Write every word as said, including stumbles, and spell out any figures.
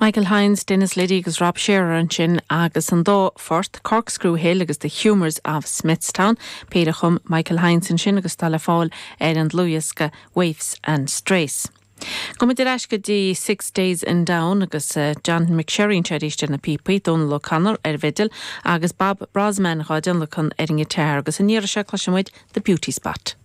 Michael Hynes, Dennis Liddy agus Rob Shearer ansin agus an dá phort Corkscrew Hill agus The Humours of Smithstown, péire a chum Michael Hynes ansin agus tá le fáil ar an dlúthdhiosca Waifs and Strays. Gabhfaimid ar ais go dtí Six Days in Down agus uh, John McSherry arís ar na píopaí Donal O'Connor ar bhfidil agus Bob Brozman dhá dtionlacan ar an ngiotár agus an iarraidh seo cloisfimid The Beauty Spot.